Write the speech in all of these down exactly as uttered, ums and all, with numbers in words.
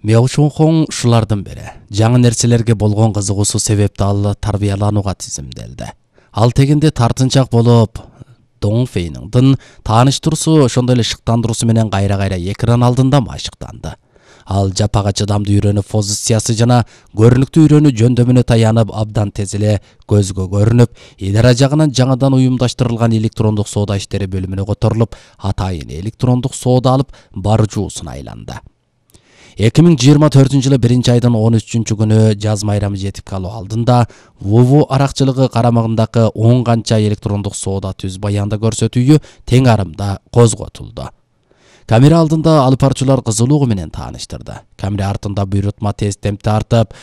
Меошонхон ушулардын бири. Жаңы нерселерге болгон кызыгуусу себепти ал тарбияланууга тизимделди. Ал тегинде тартынчак болуп, Доңфейниңдин тааныштыруусу ошондой эле шыктандыруусу менен кайра-кайра экран алдында машыктанды. Ал жапага чыдамдуу үйрөнүү позициясы жана көрүнүктүү үйрөнүү жөндөмүнө таянып, абдан тез эле көзгө көрүнүп, идара жагынан жаңыдан уюмдаштырылган электрондук соода иштери бөлүмүнө которулуп, атайын электрондук соода алып баруучусуна айланды. эки миң жыйырма төртүнчү жылы биринчи айдын он үчүнчү күнү жаз майрамы жетип калуу алдында ВУВУ аракчылыгы карамагындагы он канча электрондук соода түз баянда көрсөтүүгө тең арымда козготулду. Камера алдында алып баруучулар кызылуугу менен тааныштырды. Камера артында буйрутма тест-темп тартып,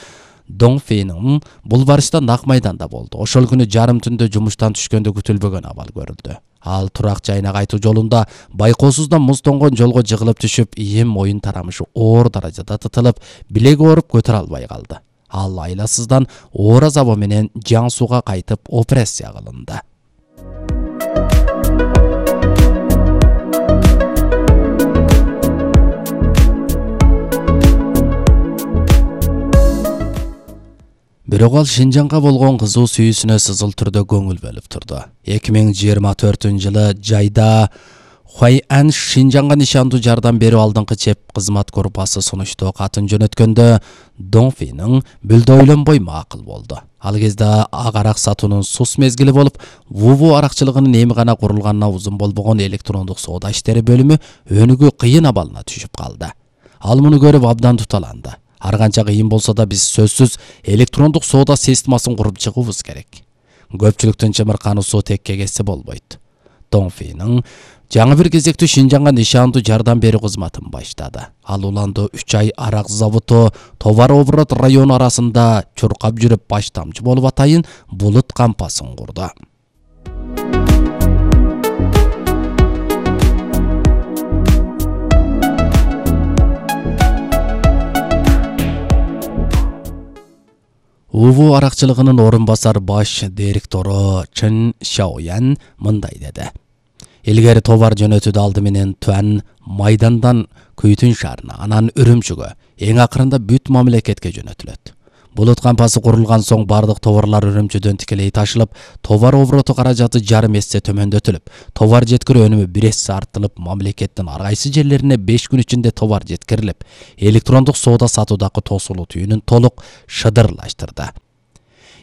Доңфейниң бул барышта нак майданда болду. Ошол күнү жарым түндө жумуштан түшкөндө күтүлбөгөн абал көрүлдү. Ал турак жайына кайтуу жолунда байкоосуздан муз тоңгон жолго жыгылып түшүп, ийим моюн тарамышы оор даражада тытылып, билеги ооруп көтөрө албай калды. Ал айласыздан оор азабы менен Жан Суга кайтып операция кылынды. Бирок ал Шинжаңга болгон кызуу сүйүүсүнө сызыл түрдө көңүл бөлүп турду. эки миң жыйырма төртүнчү жылы жайда Хуайан Шинжаңга нишандуу жардам берүү алдыңкы чеп кызмат группасы сунуштоо катын жөнөткөндө Доңфейниң бүлдө ойлонбой макул болду. Ал кезде ак арак сатуунун сус мезгили болуп, ВУВУ аракчылыгынын эми гана курулганына узун болбогон электрондук соода иштери бөлүмү өнүгүү кыйын абалына түшүп калды. Ал муну көрүп абдан туталанды. Ар канча кыйын болсо да биз сөзсүз электрондук соода системасын куруп чыгуубуз керек. Көпчүлүктүн чымыркануусу текке кетсе болбойт. Доңфейниң жаңы бир кезектүү Шинжаңга нишандуу жардам берүү кызматын баштады. Ал уланды үч ай арак заводу товар оборот району арасында чуркап жүрүп баш тамчы болуп атайын булут кампасын курду. ВУВУ аракчылыгынын орун басар баш директору Чын Шаоян мындай деди. Илгери товар жөнөтүүдө алды менен Туан майдандан Күйтүн шаарына, анан Үрүмчүгө, эң акырында бүт мамлекетке жөнөтүлөт. Булут кампасы курулган соң бардык товарлар Үрүмчүдөн тикелей ташылып, товар обороту каражаты жарым эсе төмөндөтүлүп, товар жеткирүү өнүмү бир эсе артылып, мамлекеттин ар кайсы жерлерине беш күн ичинде товар жеткирилип, электрондук соода сатуудагы тосулуу түйүнүн толук шыдырлаштырды.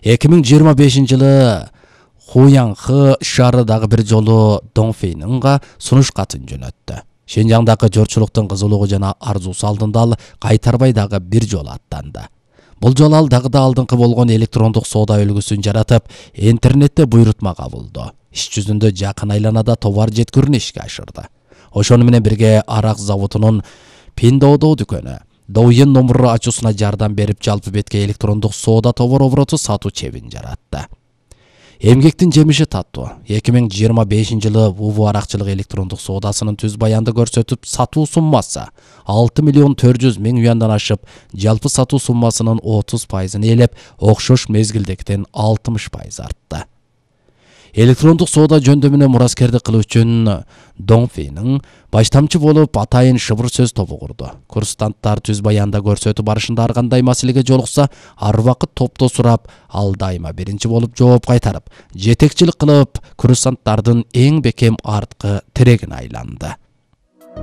эки миң жыйырма бешинчи жылы Хуянхы шаары дагы бир жолу Доңфейнинга сунуш катын жөнөттү. Шинжаңдагы жорчулуктун кызылуугу жана арзуусу алдында ал кайтарбай дагы бир жолу аттанды. Бул жолу ал дагы да алдыңкы болгон электрондук соода үлгүсүн жаратып, интернетте буйрутма кабылды. Иш жүзүндө жакын айланада товар жеткирүүнү ишке ашырды. Ошону менен бирге арак заводунун Пиндоодо дүкөнү Доуен номуру ачуусуна жардам берип, жалпы бетке электрондук соода товар обороту сатуу чебин жаратты. Эмгектин жемиши таттуу. эки миң жыйырма бешинчи жылы ВУВУ аракчылык электрондук соодасынын түз баянды көрсөтүп, сатуу суммасы алты миллион төрт жүз миң юандан ашып, жалпы сатуу суммасынын отуз пайызын ээлеп, окшош мезгилдектен алтымыш пайыз артты. Электрондук соода жөндөмүнө мураскердик кылуу үчүн Доңфейниң баш тамчы болуп атайын шыбыр сөз тобу курду. Курстанттар түз баянда көрсөтүү барышында ар кандай маселеге жолукса, ар убакыт топто сурап, ал дайыма биринчи болуп жооп кайтарып, жетекчилик кылып, курстанттардын эң бекем арткы тирегине айланды.